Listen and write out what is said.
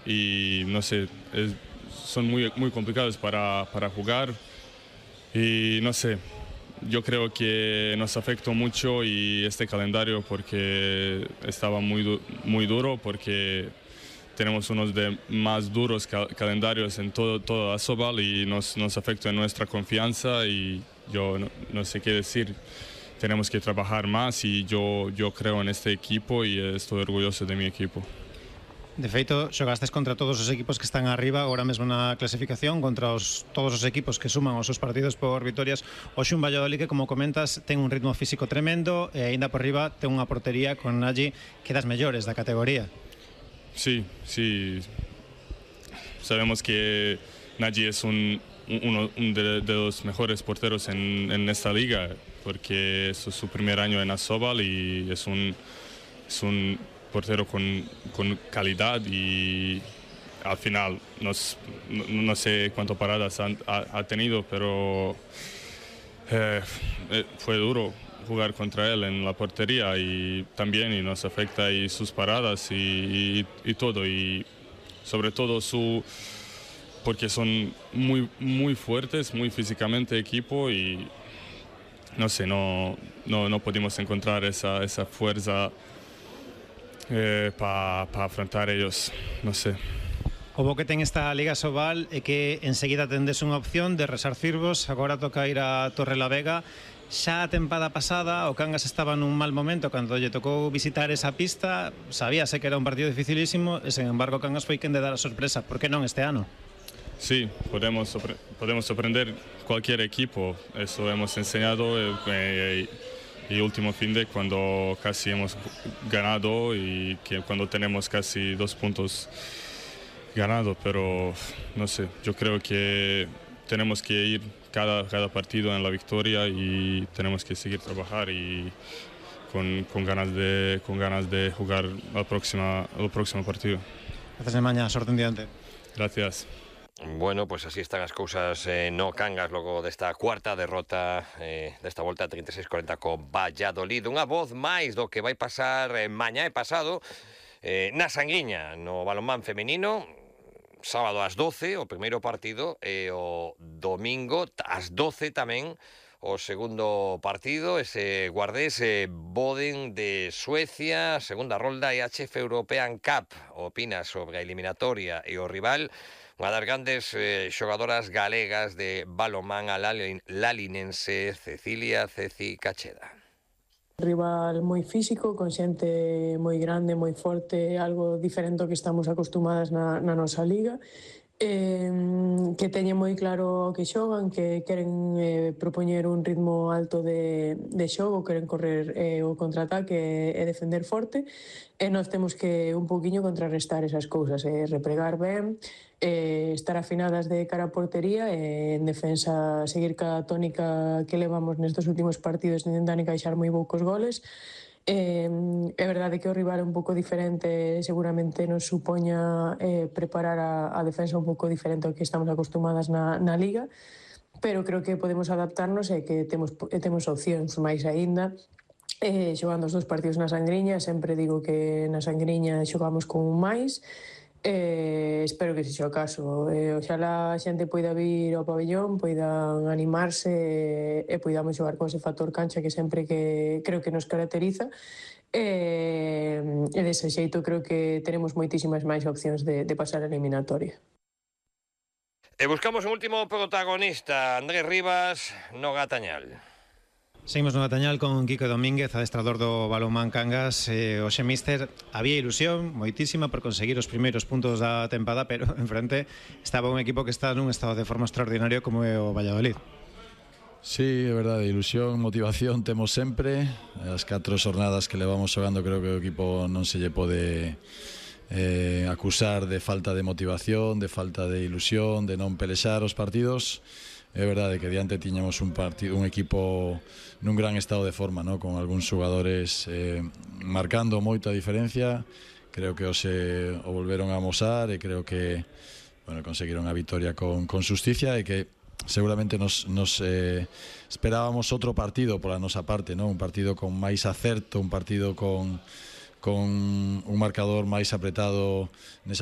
y no sé, son muy complicados para jugar y no sé, yo creo que nos afectó mucho y este calendario porque estaba muy duro, porque tenemos unos de más duros calendarios en todo Asobal y nos afecta en nuestra confianza y yo no sé qué decir. Tenemos que trabajar más y yo creo en este equipo y estoy orgulloso de mi equipo. De feito, xogastes contra todos os equipos que están arriba agora mesmo na clasificación, contra todos os equipos que suman os seus partidos por vitorias. Hoxe un Valladolid que, como comentas, ten un ritmo físico tremendo e aínda por riba ten unha portería con Nagy que das mellores da categoría. Sí, sabemos que Nagy es uno de los mejores porteros en esta liga porque es su primer año en Asobal y es un portero con calidad y al final no sé cuántas paradas ha tenido, pero fue duro jugar contra él en la portería y también y nos afecta y sus paradas y todo y sobre todo porque son muy fuertes, muy físicamente equipo y no sé, no pudimos encontrar esa fuerza para afrontar ellos, no sé. O bo que ten esta Liga Asobal é que enseguida tendes unha opción de resarcirvos. Agora toca ir a Torrelavega. Xa a tempada pasada o Cangas estaba nun mal momento cando lle tocou visitar esa pista. Sabíase que era un partido dificilísimo e, sen embargo, Cangas foi quen de dar a sorpresa. Por que non este ano? Sí, podemos sorprender cualquier equipo. Eso hemos enseñado y último fin de cuando casi hemos ganado y que cuando tenemos casi 2 puntos ganado, pero no sé, yo creo que tenemos que ir cada partido en la victoria y tenemos que seguir trabajar y con ganas de jugar el próximo partido. Gracias, Nemaña, sorte en diante. Gracias. Bueno, pues así están as cousas no Cangas logo desta cuarta derrota desta volta 36-40 co Valladolid. Unha voz máis do que vai pasar mañá e pasado na Sanguiña, no balonmán femenino. Sábado ás 12 o primeiro partido e o domingo ás 12 tamén o segundo partido, ese Guardés Boden de Suecia, segunda rolda IHF European Cup. Opinas sobre a eliminatoria e o rival? Unha das grandes xogadoras galegas de balonmán a lalinense Cecilia Ceci Cacheda. Rival moi físico, con xente moi grande, moi forte, algo diferente ao que estamos acostumadas na nosa liga, que teñen moi claro o que xogan, que queren propoñer un ritmo alto de xogo, queren correr o contraataque e defender forte, e nós temos que un poquinho contrarrestar esas cousas, repregar ben, estar afinadas de cara a portería e en defensa seguir ca tónica que levamos nestes últimos partidos de intentar encaixar moi poucos goles. É verdade que o rival é un pouco diferente, seguramente nos supoña preparar a defensa un pouco diferente ao que estamos acostumadas na liga, pero creo que podemos adaptarnos e que temos opcións máis aínda. Xogando os 2 partidos na Sangriña, sempre digo que na Sangriña xogamos con un máis. Espero que sexa o caso. Oxalá a xente poida vir ao pabellón, poidan animarse e poidamos xogar con ese factor cancha que sempre que creo que nos caracteriza. E dese xeito creo que tenemos moitísimas máis opcións de pasar a eliminatoria. E buscamos un último protagonista, Andrés Rivas, no Gatañal. Seguimos no Gatañal con Quico Domínguez, adestrador do balonmán Cangas. Hoxe, míster, había ilusión moitísima por conseguir os primeiros puntos da tempada, pero enfrente estaba un equipo que está nun estado de forma extraordinario como é o Valladolid. Sí, é verdade, ilusión, motivación temos sempre. As 4 xornadas que levamos xogando creo que o equipo non se lle pode acusar de falta de motivación, de falta de ilusión, de non pelexar os partidos. É verdade que diante tiñamos un equipo nun gran estado de forma, ¿no? Con algúns xogadores marcando moita diferencia. Creo que hoxe o volveron a amosar e creo que conseguiron a vitoria con xusticia e que seguramente nos esperábamos outro partido pola nosa parte, ¿no? Un partido con máis acerto, un partido con un marcador máis apretado nesa